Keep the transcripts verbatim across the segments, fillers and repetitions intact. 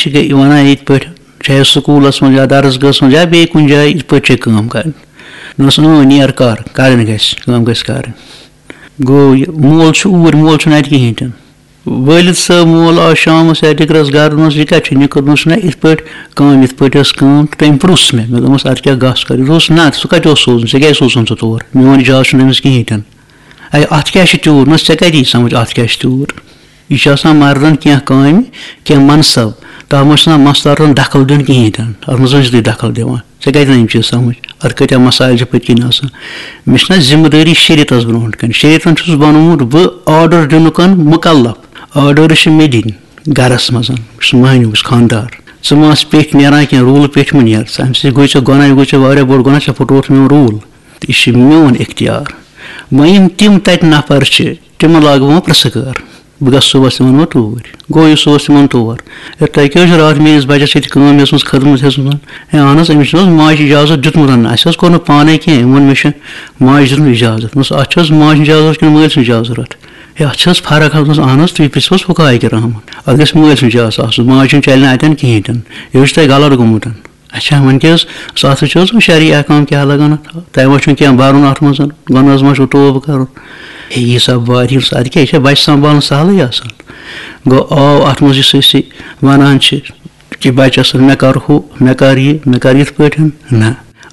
چھِ گٔے وَنان یِتھ پٲٹھۍ، چاہے سکوٗلَس منٛز یا درسگاہَس منٛز یا بیٚیہِ کُنہِ جایہِ، یِتھ پٲٹھۍ چھےٚ کٲم کَرٕنۍ۔ دوٚپنَس، اۭں، نیر کَر، کَرٕنۍ گژھِ، کٲم گژھِ کَرٕنۍ۔ گوٚو یہِ مول چھُ اوٗرۍ، مول چھُنہٕ اَتہِ کِہیٖنۍ تہِ نہٕ۔ وٲلِد صٲب مول آو شامَس یا دِگرَس گَرٕ، دوٚپنَس، یہِ کَتہِ چھُ نِکہٕ؟ دوٚپنَس، نہ، یِتھ پٲٹھۍ کٲم، یِتھ پٲٹھۍ ٲس کٲم، تہٕ تٔمۍ پرُژھ مےٚ۔ مےٚ دوٚپمَس، اَدٕ کیٛاہ گژھ کَر؟ یہِ دوٚپُس، نہ، سُہ کَتہِ اوس سوزُن؟ ژےٚ کیٛازِ سوٗزُن سُہ تور؟ میون اِجازت چھُنہٕ تٔمِس کِہیٖنۍ تہِ نہٕ۔ اے، اَتھ کیٛاہ چھُ تیوٗت؟ نہ، ژےٚ کَتہِ یی سَمٕجھ اَتھ کیٛاہ چھُ تیوٗت؟ یہِ چھُ آسان مَردَن کینٛہہ کامہِ، کینٛہہ مَنصَب، تَتھ منٛز چھُنہٕ آسان مَستَرَن دَخٕل دیُن کِہیٖنۍ تہِ نہٕ۔ اَتھ منٛز ٲسۍ تُہۍ دَخٕل دِوان۔ ژےٚ کَتہِ نہ یِم چیٖز سَمٕجھ؟ اَتھ کۭتیٛاہ مَسایِل چھِ پٔتۍ کِنۍ آسان۔ مےٚ چھِنہ ذِمہٕ دٲری شریعتَس برونٛٹھ کَنہِ۔ شریعتَن چھُس بَنومُت بہٕ آرڈَر دِنُک مُکلَف۔ آرڈَرٕز چھِ مےٚ دِنۍ گَرَس منٛز۔ بہٕ چھُس مٔہنیوٗ، بہٕ چھُس خانٛدار۔ ژٕ ما آس پیٚٹھۍ نیران کینٛہہ، روٗل پیٚٹھۍ مہٕ نیر۔ ژٕ، اَمہِ سۭتۍ گوٚو ژےٚ گۄناہ، یہِ گوٚو ژےٚ واریاہ بوٚڑ گۄناہ، ژےٚ پھٕٹرووُتھ میون روٗل۔ تہٕ یہِ چھِ میون اختیار۔ وۄنۍ یِم تِم تَتہِ نفر چھِ، تِمَن لاگہٕ بہٕ وۄنۍ پرٛژھٕ کٲر۔ بہٕ گژھٕ صُبحَس تِمَن وۄنۍ توٗرۍ۔ گوٚو یہِ صُبحَس تِمَن تور۔ ہے، تۄہہِ کیٛاہ حظ چھِ راتھ میٛٲنِس بَچَس ییٚتہِ کٲم ہیٚژمٕژ، خدمت ہیٚژمٕژ؟ ہے، اہن حظ، أمِس چھُنہٕ حظ ماجہِ اِجازت دیُتمُت؟ اَسہِ حظ کوٚر نہٕ پانَے کینٛہہ، أمۍ ووٚن مےٚ چھُ ماجہِ دیُتمُت اِجازت۔ دوٚپمَس، اَتھ چھِ حظ ماجہِ ہُنٛد اِجازت کِنہٕ مٲلۍ سُنٛد اِجازت ضوٚرَتھ؟ ہے، اَتھ چھِ حظ فرق حظ؟ دوٚپمَس، اہن حظ، تُہۍ پِرٛژھِو حظ فُقہاء کرامَن۔ اَتھ گژھِ مٲلۍ سُنٛد اِجازت آسُن، ماجہِ ہُنٛد چَلہِ نہٕ اَتٮ۪ن کِہیٖنۍ تہِ نہٕ۔ یہِ حظ چھُ تۄہہِ غلط گوٚمُت۔ اچھا، وۄنۍ کیٛاہ حظ، سُہ اَتھ وٕچھ حظ، وۄنۍ شرعی احکام کیٛاہ لَگان اَتھ؟ تۄہہِ ما چھُو کینٛہہ بَرُن اَتھ منٛز؟ گۄناہَس ما چھُو توبہٕ کَرُن؟ ہے، یہِ سا وارِ یُس اَدٕ کیٛاہ، یہِ چھا بَچہِ سنٛبھالُن سہلٕے آسان؟ گوٚو، آو اَتھ منٛز یُس أسۍ یہِ وَنان چھِ کہِ بَچَس سۭتۍ مےٚ کَر ہُہ، مےٚ کَر یہِ، مےٚ کَر یِتھ پٲٹھۍ؟ نہ،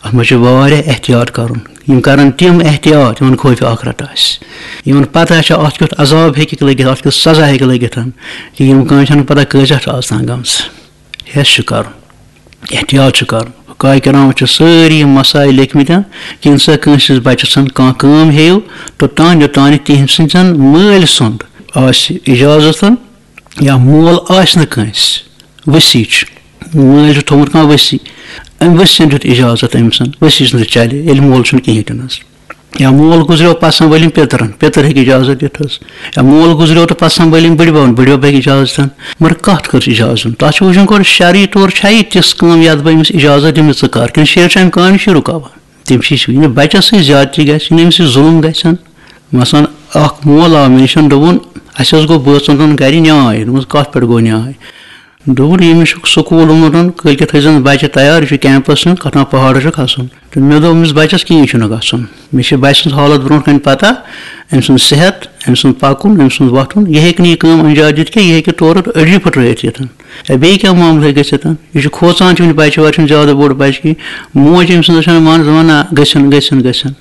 اَتھ منٛز چھِ واریاہ احتیاط کَرُن۔ یِم کَرَن تِم احتیاط، یِمَن خوفِ آخرت آسہِ، یِمَن پَتہ چھِ اَتھ کیُتھ عذاب ہیٚکہِ لٔگِتھ، اَتھ کیُتھ سزا ہیٚکہِ لٔگِتھ، کہِ یِم کامہِ چھَنہٕ پَتہ کۭژاہ چھِ آز تام گٔمژٕ۔ ہیٚس چھُ کَرُن، احتیاط چھُ کَرُن۔ فقہاء کرام چھِ سٲری یِم مسائل لیکھمٕتۍ، کہِ ییٚمہِ ساتہٕ کٲنٛسہِ ہٕنٛدِس بَچَس کانٛہہ کٲم ہیٚیِو، توٚتام یوٚتام نہٕ تِہِنٛدِ سٕنٛدٮ۪ن مٲلۍ سُنٛد آسہِ اِجازت یا مول آسہِ نہٕ کٲنٛسہِ وسی چھُ، مٲلۍ چھُ تھوٚومُت کانٛہہ وسی، أمۍ وسی دیُت اِجازت أمۍ سُنٛد، وسی سُنٛد چَلہِ، ییٚلہِ مول چھُنہٕ کِہیٖنۍ تہِ نہٕ حظ۔ یا مول گُزریو پَسنٛد وٲلِم پِترَن، پِتٕر ہیٚکہِ اِجازت دِتھ حظ۔ یا مول گُزریو تہٕ پَسنٛد وٲلِم بٕڈِبَبَن، بٕڈِبَب ہیٚکہِ اِجازت دِتھ۔ مگر کَتھ کٔر اِجازت؟ تَتھ چھُ وٕچھُن گۄڈٕ شرعی طور چھا یہِ تِژھ کٲم یَتھ بہٕ أمِس اِجازت دِمہٕ، ژٕ کَر، کِنہٕ شریعت چھُ اَمہِ کامہِ نِش رُکاوان؟ تٔمِس چھِ یہِ بَچَس سۭتۍ زیادتی گژھِ، یِنہٕ أمِس سۭتۍ ظُلُم گژھن۔ مثلاً، اَکھ مول آو مےٚ نِش، دوٚپُن، اَسہِ حظ گوٚو بٲژَن دۄن گَرِ نیاے۔ دوٚپمَس، کَتھ پٮ۪ٹھ گوٚو نیاے؟ دوٚپُن، ییٚمِس چھُکھ سکوٗل اوٚنمُت، کٲلۍکٮ۪تھ تھٲیزٮ۪ن بَچہِ تیار، یہِ چھُ کیمپَس نیُن، کَتھ تام پہاڑَس چھُ کھسُن۔ تہٕ مےٚ دوٚپ أمِس بَچَس، کِہیٖنۍ چھُنہٕ گژھُن، مےٚ چھِ بَچہِ سٕنٛز حالت برونٛٹھ کَنہِ پَتہ، أمۍ سُنٛد صحت، أمۍ سُنٛد پَکُن، أمۍ سُنٛد وۄتھُن، یہِ ہیٚکہِ نہٕ یہِ کٲم اَنجام دِتھ کینٛہہ، یہِ ہیٚکہِ تورٕ أڈجہِ پھٕٹرٲیِتھ یِتھ۔ یا بیٚیہِ کیٛاہ معاملہٕ ہیٚکہِ گٔژھِتھ؟ یہِ چھُ کھوژان، چھُ وٕنہِ بَچہِ وَچہِ چھُنہٕ زیادٕ بوٚڑ بَچہِ کِہیٖنۍ، موج أمۍ سٕنٛز چھَنہٕ مانان، دَپان، نہ، گٔژھِنۍ، گٔژھِنۍ، گٔژھِنۍ۔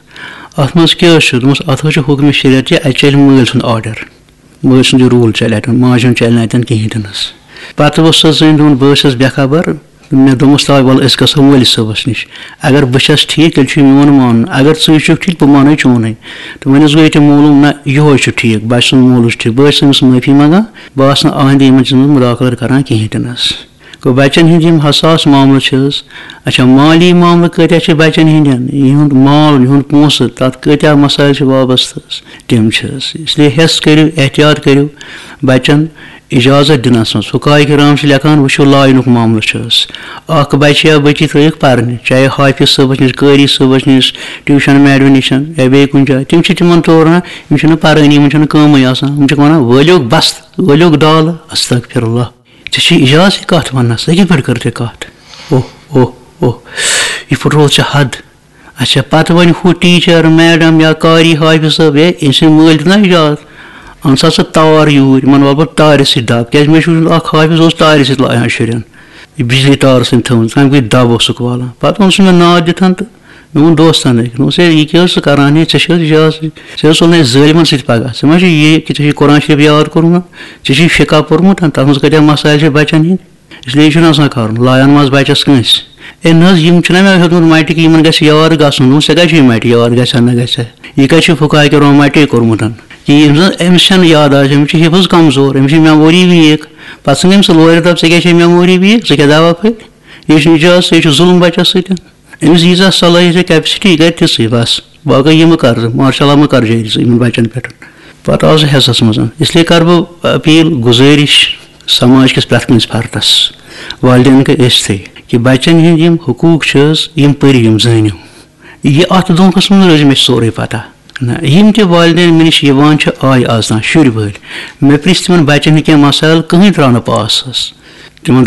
اَتھ منٛز کیٛاہ حظ چھُ؟ دوٚپمَس، اَتھ حظ چھُ حُکمِ شریعت، یہِ اَتہِ چَلہِ مٲلۍ سُنٛد آرڈَر۔ مٲلۍ سُنٛد یہِ روٗل چَلہِ اَتٮ۪ن، ماجہِ ہُنٛد چَلہِ نہٕ اَتٮ۪ن کِہیٖنۍ تہِ نہٕ حظ۔ پَتہٕ اوس سۄ زٔنۍ، دوٚپُن، بہٕ حظ چھَس بے خبر۔ مےٚ دوٚپمَس، تَوَے وَلہٕ أسۍ گژھو مٲلِس صٲبَس نِش۔ اگر بہٕ چھَس ٹھیٖک، تیٚلہِ چھُ یہِ میون مانُن۔ اگر ژٕے چھُکھ ٹھیٖک، بہٕ مانَے چونُے۔ تہٕ وۄنۍ حظ گوٚو ییٚتہِ معلوٗم، نہ، یِہوٚے چھُ ٹھیٖک، بَچہِ سُنٛد مول چھُ ٹھیٖک۔ بہٕ حظ چھُس أمِس معٲفی منٛگان، بہٕ آسہٕ نہٕ آیِندٕ یِمَن چیٖزَن منٛز مُداخلت کَران کِہیٖنۍ تہِ نہٕ حظ۔ گوٚو بَچَن ہِنٛدۍ یِم حساس معاملہٕ چھِ حظ، اچھا، مالی معاملہٕ کۭتیٛاہ چھِ بَچَن ہِنٛدٮ۪ن، یِہُنٛد مال، یِہُنٛد پونٛسہٕ، تَتھ کۭتیٛاہ مسائل چھِ وابستہٕ حظ، تِم چھِ حظ۔ اس لیے ہٮ۪س کٔرِو، احتیاط کٔرِو بَچَن اِجازت دِنَس منٛز۔ فقہاء کرام چھِ لیکھان، وٕچھِو، line-ُک معاملہٕ چھُ حظ۔ اَکھ بَچہِ یا بٔچی ترٛٲیِکھ پَرنہِ، چاہے حافظ صٲبَس نِش، قٲری صٲبَس نِش، tuition madam نِش یا بیٚیہِ کُنہِ جایہِ، تِم چھِ تِمَن توران، یِم چھِنہٕ پَرٲنی، یِمَن چھُنہٕ کٲمٕے آسان، یِم چھِکھ وَنان، وٲلِو بَس، وٲلِو دالہٕ، استغفر اللہ۔ ژےٚ چھُے اِجازت یہِ کَتھ وَننَس، ژٕ کِتھ پٲٹھۍ کٔر ژےٚ کَتھ؟ اوہ، اوہ، اوہ، یہِ پھٕٹروو ژےٚ حد۔ اچھا، پَتہٕ وَنہِ ہُہ teacher، madam یا قاری حافظ صٲب، ہے، أمۍ سٕنٛدۍ مٲلۍ دیُت نہ اِجازت، اَن سا ژٕ تار یوٗرۍ، یِمَن وَلہٕ بہٕ تارِ سۭتۍ دَب، کیٛازِ مےٚ چھُ وٕچھمُت اَکھ حافظ اوس تارِ سۭتۍ لایان شُرٮ۪ن، یہِ بِجلی تار سۭتۍ تھٲومٕژ، تَمہِ گٔے دَب اوسُکھ والان۔ پَتہٕ اوٚن سُہ مےٚ ناد دِتھ تہٕ مےٚ ووٚن دوستَن أکۍ، دوٚپمَس، ہے، یہِ کیٛاہ حظ ژٕ کَران، ہے، ژےٚ چھِ حظ اِجازت، ژےٚ حظ ژوٚل نہٕ اَسہِ ظٲلمَن سۭتۍ پَگاہ، ژےٚ ما چھُ یہِ کہِ ژےٚ چھُے قرآن شریٖف یاد کوٚرمُت، ژےٚ چھُے فقہ پوٚرمُت، تَتھ منٛز کۭتیٛاہ مسائل چھِ بَچَن ہِنٛدۍ۔ اس لیے چھُنہٕ آسان کَرُن، لایان ما آسہِ بَچَس کٲنٛسہِ۔ أمۍ نہ حظ، یِم چھِنہ مےٚ ہیوٚتمُت مَٹہِ کہِ یِمَن گژھِ یاد گژھُن۔ دوٚپُن، ژےٚ کَتہِ چھُے مَٹہِ یاد گژھِ ہا نہ گژھِ ہا؟ یہِ کَتہِ چھُ فقہاء کرام مَٹے کوٚرمُت؟ کہِ ییٚمۍ زَن أمِس چھَنہٕ یاد آسہِ، أمِس چھِ حِفظ کمزور، أمِس چھِ memory weak۔ پَتہٕ ژھٕنۍ أمۍ سُہ لورِ دَب، ژےٚ کیٛاہ چھے memory weak؟ ژٕ کیٛاہ دَوا پھٔلۍ؟ یہِ چھُنہٕ اِجازت، یہِ چھُ ظُلُم بَچَس سۭتۍ۔ أمِس ییٖژاہ صلٲحیت یا capacity، یہِ کَرِ تِژٕے بَس۔ باقٕے یہِ مہٕ کَر ژٕ، مارشاء اللہ مہٕ کَر جٲری ژٕ یِمَن بَچَن پٮ۪ٹھ۔ پَتہٕ آو سُہ حٮ۪سَس منٛز۔ اس لیے کَرٕ بہٕ appeal، گُزٲرِش سماج کِس پرٛٮ۪تھ کٲنٛسہِ فردَس، والدین گٔے أسۍ تھٕے، کہِ بَچَن ہِنٛدۍ یِم حقوٗق چھِ حظ، یِم پٔرِو، یِم زٲنِو۔ یہِ اَتھ دھوکھَس منٛز روزِ مےٚ چھِ سورُے پَتہ۔ نہ، یِم تہِ والدین مےٚ نِش یِوان چھِ، آے آز تام شُرۍ وٲلۍ، مےٚ پرٛژھ تِمَن بَچَن ہِنٛدۍ کینٛہہ مسائل، کٕہٕنۍ درٛاو نہٕ پاس حظ۔ تِمَن